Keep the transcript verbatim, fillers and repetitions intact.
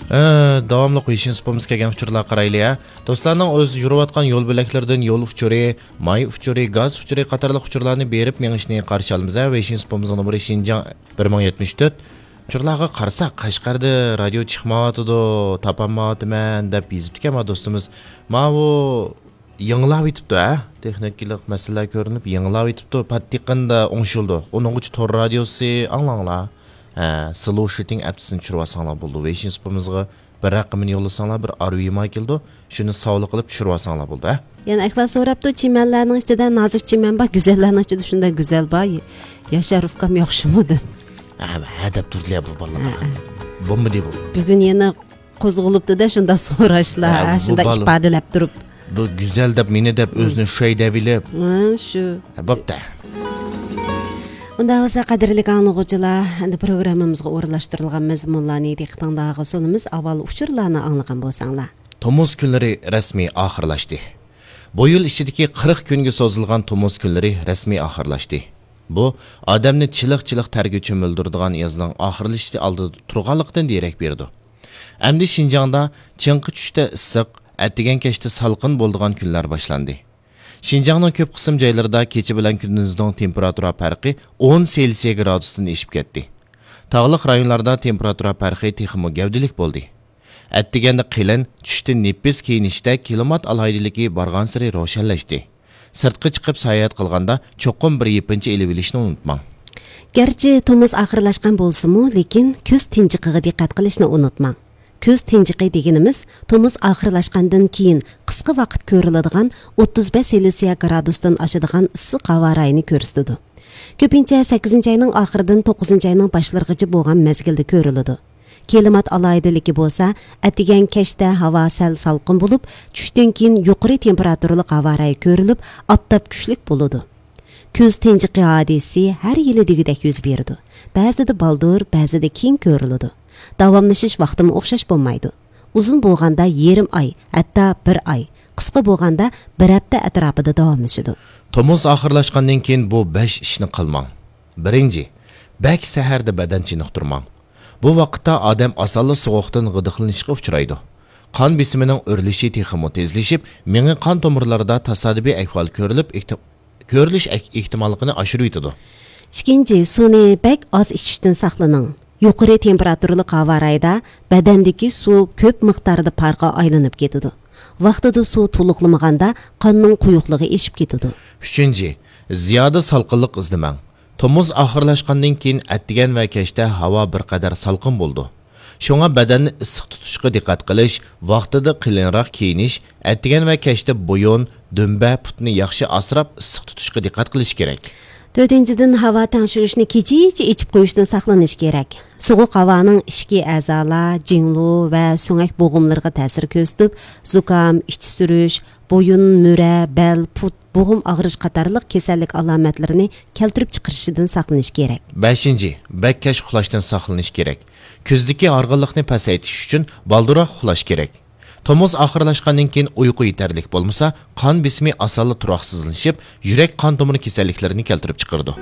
ئە، داۋاملىق ۋېيشىن سۇپىمىزغا كەلگەن ئۇچۇرلارغا قارايلى، ھە. دوستلارنىڭ ئۆز يۈرۈۋاتقان يول بۆلەكلىرىدىن يول ئۇچۇرى، ماي ئۇچۇرى، گاز ئۇچۇرى قاتارلىق ئۇچۇرلارنى بېرىپ مېڭىشىنى قارشى ئالىمىز، ھە. ۋېيشىن سۇپىمىزنىڭ نومۇرى شىنجاڭ بىر مىڭ يەتمىش تۆت. ئۇچۇرلارغا قارىساق، قەشقەردە رادىيو چىقمايۋاتىدۇ، تاپالمايۋاتىمەن دەپ يېزىپتىكەن ما دوستىمىز. ماۋۇ يېڭىلاۋېتىپتۇ، ھە؟ تېخنىكىلىق مەسىلىلەر كۆرۈنۈپ، يېڭىلاۋېتىپتۇ. پات يېقىندا ئوڭشىلىدۇ. ئۇنىڭغىچە تور رادىيوسى ئاڭلاڭلار. ھە، سلوشىتىڭ ئەپتىسىنى چۈشۈرۈۋالساڭلار بولىدۇ. ۋېيشىن سۇپىمىزغا بىر رەقىمىنى يوللىساڭلار، بىر ئارۇ يېماي كېلىدۇ. شۇنى ساۋلى قىلىپ چۈشۈرۈۋالساڭلار بولىدۇ، ھە؟ يەنە ئىقبال سوراپتۇ، چىمەنلەرنىڭ ئىچىدە نازۇك چىمەن بار، گۈزەللەرنىڭ ئىچىدە شۇنداق گۈزەل بار. ياشار ئۇكام ياخشىمۇ دەپ. ھە، ھە دەپ تۇردىلە بۇ بالىلار. ھە، ھە. بولمىدى بۇ. بۈگۈن يەنە قوزغىلىپتۇ-دە، شۇنداق سوراشلار، ھە، ھە، بۇ شۇنداق بال-، ئىپادىلەپ تۇرۇپ. بۇ گۈزەل دەپ، مېنى دەپ، مم. ئۆزىنى شۇ دەپ ئېلىپ. ھە، شۇ. ھە، بوپتۇ. ئۇنداق بولسا، قەدىرلىك ئاڭلىغۇچىلار، ئەمدى پروگراممىمىزغا ئورۇنلاشتۇرۇلغان مەزمۇنلارنى دىققىتىڭلارغا سۇنىمىز. ئاۋۋال ئۇچۇرلارنى ئاڭلىغان بولساڭلار. تومۇز كۈنلىرى رەسمىي ئاخىرلاشتى. بۇ يىل ئىچىدىكى قىرىق كۈنگە سوزۇلغان تومۇز كۈنلىرى رەسمىي ئاخىرلاشتى. بۇ، ئادەمنى چىلىق-چىلىق تەرگە چۆمۈلدۈرىدىغان يازنىڭ ئاخىرلىشىشى ئالدىدا تۇرغانلىقىدىن دېرەك بېرىدۇ. ئەمدى شىنجاڭدا چىڭقى چۈشتە ئىسسىق، ئەتىگەن كەچتە سالقىن بولىدىغان كۈنلەر باشلاندى. شىنجاڭنىڭ كۆپ قىسىم جايلىرىدا كېچە بىلەن كۈندۈزنىڭ تېمپېراتۇرا پەرقى ئون سېلسىيە گرادۇستىن ئېشىپ كەتتى. تاغلىق رايونلاردا تېمپېراتۇرا پەرقى تېخىمۇ گەۋدىلىك بولدى. ئەتىگەندە قېلىن، چۈشتە نېپىز كىيىنىشتە كىلىمات ئالاھىدىلىكى بارغانسېرى روشەنلەشتى. سىرتقا چىقىپ ساياھەت قىلغاندا چوقۇم بىر يېپىنچا ئېلىۋېلىشنى ئۇنتۇماڭ. گەرچە تومۇز ئاخىرلاشقان بولسىمۇ، لېكىن كۈز تىنچىقىغا دىققەت قىلىشنى ئۇنتۇماڭ. كۈز تىنچىقى دېگىنىمىز تومۇز ئاخىرلاشقاندىن كېيىن قىسقا ۋاقىت كۆرۈلىدىغان ئوتتۇز بەش سېلسىيە گرادۇستىن ئاشىدىغان ئىسسىق ھاۋا رايىنى كۆرسىتىدۇ. كۆپىنچە سەككىزىنچى ئاينىڭ ئاخىرىدىن توققۇزىنچى ئاينىڭ باشلىرىغىچە بولغان مەزگىلدە كۆرۈلىدۇ. كىلىمات ئالاھىدىلىكى بولسا، ئەتىگەن كەچتە ھاۋا سەل سالقىن بولۇپ، چۈشتىن كېيىن يۇقىرى تېمپېراتۇرىلىق ھاۋا رايى كۆرۈلۈپ، ئاپتاپ كۈچلۈك بولىدۇ. كۈز تىنچىقى ھادىسىسى ھەر يىلى دېگۈدەك يۈز بېرىدۇ. بەزىدە بالدۇر، بەزىدە كېيىن كۆرۈلىدۇ. داۋاملىشىش ۋاقتىمۇ ئوخشاش بولمايدۇ. ئۇزۇن بولغاندا يېرىم ئاي، ھەتتا بِر ئاي، قىسقا بولغاندا بىر ھەپتە ئەتراپىدا داۋاملىشىدۇ. تومۇز ئاخىرلاشقاندىن كېيىن بۇ بەش ئىشنى قىلماڭ. بىرىنچى، بەك سەھەردە بەدەن چېنىقتۇرماڭ. بۇ ۋاقىتتا ئادەم ئاسانلا سوغۇقتىن غىدىقلىنىشقا ئۇچرايدۇ. قان بېسىمىنىڭ ئۆرلىشى تېخىمۇ تېزلىشىپ، مېڭە قان تومۇرلىرىدا تاسادىپىي ئەھۋال كۆرۈلۈپ، ئېھتىم-، كۆرۈلۈش ئەك-، ئېھتىماللىقىنى ئاشۇرۇۋېتىدۇ. ئىككىنچى، سۇنى بەك ئاز ئىچىشتىن ساقلىنىڭ. يۇقىرى تېمپېراتۇرىلىق ھاۋا رايىدا بەدەندىكى سۇ كۆپ مىقداردا پارغا ئايلىنىپ كېتىدۇ. ۋاقتىدا سۇ تولۇقلىمىغاندا قاننىڭ قويۇقلۇقى ئېشىپ كېتىدۇ. ئۈچىنچى، زىيادە سالقىنلىق ئىزدىمەڭ. تومۇز ئاخىرلاشقاندىن كېيىن ئەتىگەن ۋە كەچتە ھاۋا بىر قەدەر سالقىن بولىدۇ. شۇڭا بەدەننى ئىسسىق تۇتۇشقا دىققەت قىلىش، ۋاقتىدا قېلىنراق كىيىنىش، ئەتىگەن ۋە كەچتە بويۇن، دۈمبە، پۇتنى ياخشى ئاسراپ، ئىسسىق تۇتۇشقا دىققەت قىلىش كېرەك. تۆتىنچىدىن، ھاۋا تەڭشىگۈچنى كېچىچە ئېچىپ قويۇشتىن ساقلىنىش كېرەك. سوغۇق ھاۋانىڭ ئىچكى ئەزالار، جىڭلۇ ۋە سۆڭەك بوغۇملىرىغا تەسىر كۆرسىتىپ، زۇكام، ئىچى سۈرۈش، بويۇن، مۈرە، بەل، پۇت، بوغۇم ئاغرىش قاتارلىق كېسەللىك ئالامەتلىرىنى كەلتۈرۈپ چىقىرىشىدىن ساقلىنىش كېرەك. بەشىنچى، بەك كەچ ئۇخلاشتىن ساقلىنىش كېرەك. كۈزدىكى ھارغىنلىقنى پەسەيتىش ئۈچۈن بالدۇرراق ئۇخلاش كېرەك. تومۇز ئاخىرلاشقاندىن كېيىن ئۇيقۇ يېتەرلىك بولمىسا، قان بېسىمى ئاسانلا تۇراقسىزلىشىپ، يۈرەك قان تومۇر كېسەللىكلىرىنى كەلتۈرۈپ چىقىرىدۇ.